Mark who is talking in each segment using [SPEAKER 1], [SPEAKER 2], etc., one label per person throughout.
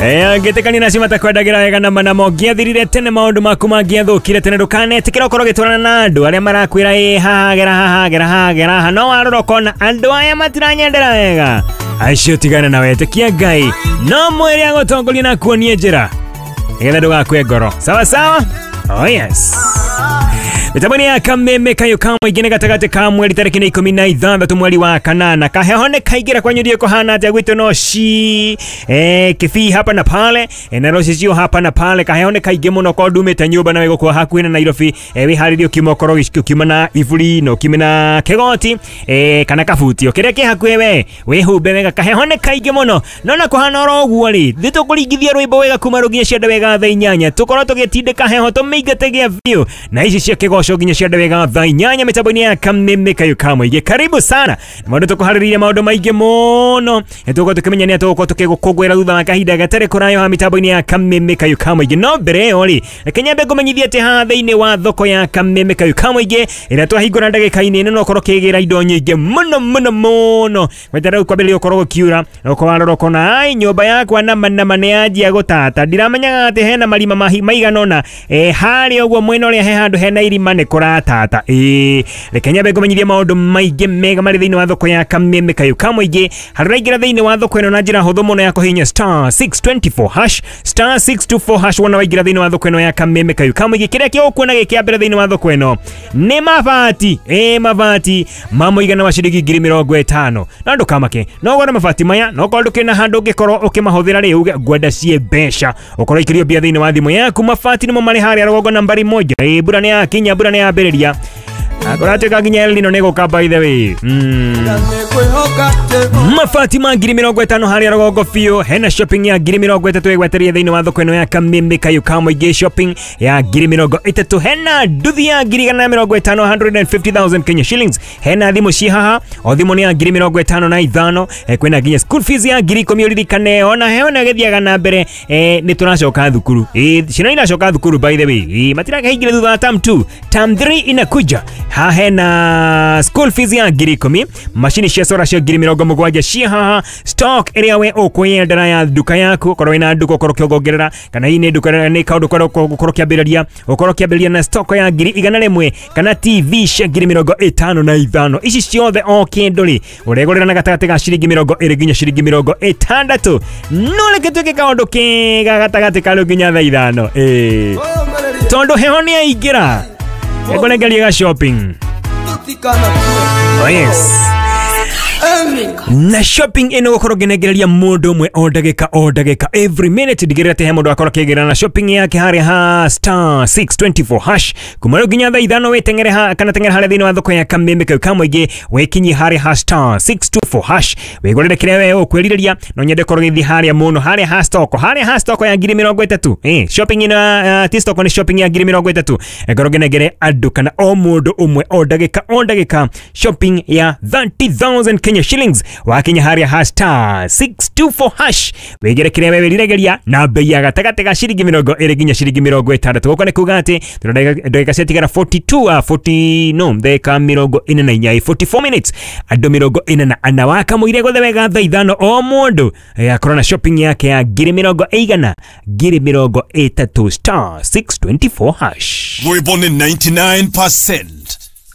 [SPEAKER 1] Ngĩtĩkania nacio matakwendagĩra wega na manamo ngĩathirire tene maũndũ maku mangĩathũkire tene ndũkanetĩkĩra ũkorwo ũgĩtwarana na andũ arĩa marakwĩra ĩ haha gera haha gera haha gera haha no warora ũkona andũ aya matiranyendera wega acio tigana na wetĩkia Ngai no mwĩre agũtongoria na akuonie njĩra nĩgetha ndũgakue ngoro sawa sawa. Oh yes. Mitambo ya Kameme kayo ka mũingĩ nĩ gatagatĩ ka mweri tarĩki nĩ 16 mweri wa kanana kaheho nĩ kaingĩra kwanyu ndiĩ kũhana atĩa gwitũ no ci Kisii hapa na pale na rũcicio hapa na pale kaheho nĩ kaingĩ mũno korwo ndumĩte nyũmba na wĩgũkorwo hakuhĩ na Nairobi wĩharĩrie ũkiuma ũkorwo ũkiuma na iburi na ũkiume na kĩgoti kana kabutio kĩrĩa kĩ hakuhĩ we wĩhumbe wega kaheho nĩ kaingĩ mũno no na kũhana oro ũguo rĩ nĩ tũkũringithia rwĩmbo wega kuma rũnginya cianda wega thaa 8 tũkorwo tũgĩtindĩka heho tũmĩingate gĩa biũ na ici cia kĩgoco nginya cianda wega thaa 8 mitambo-inĩ ya Kameme kayo ka mũingĩ. Karibu sana maũndũ tũkũharĩrĩirie maũndũ maingĩ mũno nĩtũgũkorwo tũkĩmenya nĩ atĩ tũgũkorwo tũkĩgũkũngũĩra thutha wa kahinda gatarĩ kũraya mitambo-inĩ ya Kameme kayo ka mũingĩ. No mbere ĩyo rĩ reke nyambe ngũmenyithie atĩ haha thĩinĩ wa thoko ya Kameme kayo ka mũingĩ ĩrĩa twahingũra ndagĩka-inĩ ĩno no ũkorwo ũkĩgĩra indo nyingĩ mũno mũno mũno gweta rĩu kwambĩrĩria ũkorwo gũkiura na ũkorwo warora ũkona ai nyũmba yakwa nama nama nĩ yanjia gũtata ndiramenyaga atĩ hena marima maigana ũna harĩa ũguo mwena ũrĩa he handũ hena irima nĩ kũratata. Reke nyambe ngũmenyithie maũndũ maingĩ mega marĩ thĩinĩ wa thoko ya Kameme kayo ka mũingĩ harĩa ũraingĩra thĩinĩ wa thoko ĩno na njĩra hũthũ mũno ya kũhihinya star 624 hash star 624 hash wona waingĩra thĩinĩ wa thoko ĩno ya Kameme kayo ka mũingĩ kĩrĩa kĩũkuona gĩ kĩa mbere thĩinĩ wa thoko ĩno nĩ mabati mabati ma mũigana wa ciringi 50,000 no ndũkamake no ũgũre mabati maya no korwo ndũkĩrĩ na handũ ũngĩkorwo ũkĩmahũthĩra rĩ uge ngwenda ciĩ mbeca ũkorwo ikĩrio mbia thĩinĩ wa thimũ yaku mabati nĩmo marĩ harĩa rũgongo nambari 1. Mbura nĩ yakinya mbura nĩ yambĩrĩria kũratuĩka nginya El Nino nĩ gũka by the way. Mabati ma 50,000 harĩa rũgongo biũ hena shopping ya 30,000 ĩgwetereire thĩinĩ wa thoko ĩno ya Kameme kayo ka mũingĩ shopping ya 30,000 hena nduthi ya 150,000 150,000 Kenya shillings hena thimũ ci haha o thimũ nĩ ya 55,000 kwĩna nginya school fees ya 10,000 ũririkane ona heho nĩ ĩgĩthiaga na mbere nĩ tũracoka thukuru ciana iracoka thukuru by the way matirakaingĩra thutha wa term 2 term 3 inakuja haha hena school fees ya 10,000 macini cia solar cia 70,000 ci haha stock ĩrĩa we ũkwĩyendera ya nduka yaku ũkorwo wĩna nduka ũkorwo ũkĩongongerera kana hii nĩ nduka nĩ kaũndũ ũkorwo ũkĩambĩrĩria ũkorwo ũkĩambĩrĩria na stock ya 100,000 kana TV cia 55,000 ici ciothe o kĩndũ rĩ ũregũrĩra na gatagatĩ ga ciringi 20 nginya ciringi 60 no reke twĩke kaũndũ kega gatagatĩ ka rĩu nginya thaa 5 tondũ heho nĩ yaingĩra ngũnengeria ga shopping. Oh yes. Na shopping ĩno gũkorwo ngĩnengereria mũndũ ũmwe o ndagĩka every minute ndigĩrĩra atĩ he mũndũ akorwo akĩgĩra na shopping yake harĩa ha star 624 hash kuma rĩu nginya thaa 5 wĩteng'ere ha kana teng'ere harĩa thĩinĩ wa thoko ya Kameme kayo ka mũingĩ wĩkinyie harĩa ha star 624 hash wĩgũrĩre kĩrĩa we ũkwĩrirĩria no nyende korwo gĩthiĩ harĩa mũno harĩa ha stock harĩa ha stock ya 30,000 shopping ĩno ti stock nĩ shopping ya 30,000 ngorwo ngĩnengere andũ kana o mũndũ ũmwe o ndagĩka shopping ya 30,000 Kenya shillings wakinya harĩa ha star 624 hash wĩgĩre kĩrĩa we wĩriragĩria na bei ya gatagatĩ ga ciringi 20 nginya ciringi 60 gũkũ nĩ kuga atĩ ndagĩka ciatigara 42 40 no ndagĩka 44 44 minutes andũ 44 wakamũire gothe wega thaa 5 o mũndũ akorwo na shopping yake ya 100,000 30,000 star 624 hash.
[SPEAKER 2] Rwĩmbo nĩ 99%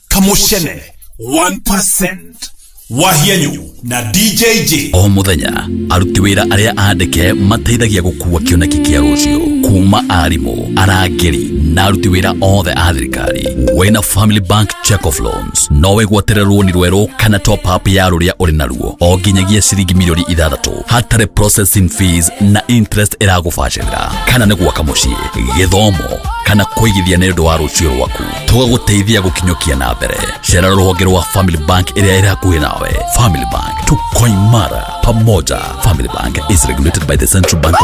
[SPEAKER 2] Kamushene 1% Wahianyu na DJJ.
[SPEAKER 3] O muthenya aruti wĩra arĩa andĩke mateithagia gũkua kĩoneki kĩa rũciũ kuma arimũ arangĩri na aruti wĩra othe a thirikari. Wĩna Family Bank Check of Loans no wĩgwatĩre rũni rwerũ kana top up ya rũrĩa ũrĩ naruo o nginyagia ciringi milioni 6 hatarĩ processing fees na interest ĩragũbacĩrĩra kana nĩ gwaka mũciĩ gĩthomo kana kũigithia nĩ ũndũ wa rũciũ rwaku tũgagũteithia gũkinyũkia na mbere. Cera rũhonge rwa Family Bank ĩrĩa ĩrĩ hakuhĩ nawe. Family Bank, tuko imara pamoja. Family Bank is regulated by the Central Bank